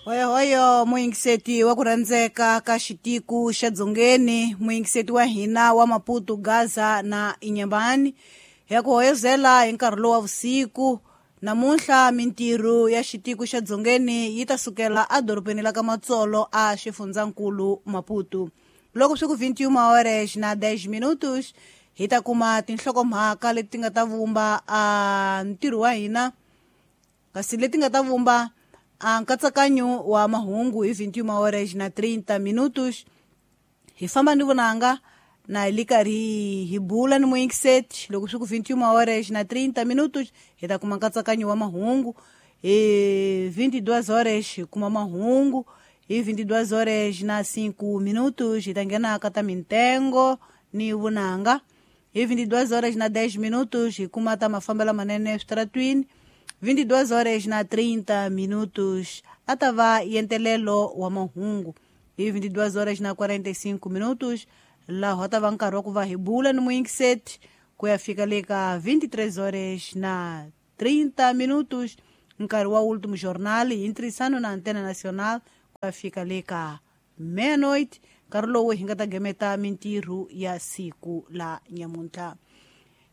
Hoyohoyo muyingiseti wa ku rhandzeka ka xitiku xa Dzongeni, muyingiseti wa hina wa Maputo, Gaza na Inyambani, hi ya ku hoyozela hi nkarhi lowu wa vusiku. Namuntlha mintirho ya xitiku xa Dzongeni yi ta sukela edorobeni la ka Matsolo a xifundzankulu Maputo. Loko swi ku 21 horas na 10 minutos hi ta kuma tinhlokomhaka leti nga ta vumba a ntirho wa hina, kasi leti nga ta vumba a nkatsakanyo wa mahungu hi 21 horas na 30 minutos. Hi famba ni vunanga na hi li karhi hi bula ni muyingiseti. Loko swi ku 21 horas na 30 minutos hi ta kuma nkatsakanyo wa mahungu. Hi 22 horas hi kuma mahungu. Hi 22 horas na 5 minutos hi ta nghena ka ta mintengo ni vunanga. Hi 22 horas na 10 minutos hi kuma ta mafambelo manene eswitaratwini. 22 horas na 30 minutos a ta va yentelelo wa mahungu. Hi 22 horas na 45 minutos laha ta va nkarhi wa ku va hi bula ni muyingiseti ku ya fika le ka 23 horas na 30 minutos, nkarhi wa Último Jornal hi ntirhisano na Antena Nacional ku ya fika le ka meia-noite, nkarhi lowu hi nga ta gemeta mintirho ya siku la nyamuntlha.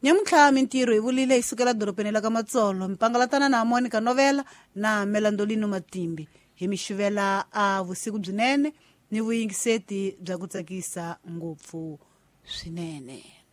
Nyamuntlha mintirho hi vulile yi sukela dorobeni la ka Matsolo, mpangalatana na Monica Novela na Melandolino Matimbi. Hi mi xivela a vusiku byinene ni vuyingiseti bya ku tsakisa ngopfu swinene.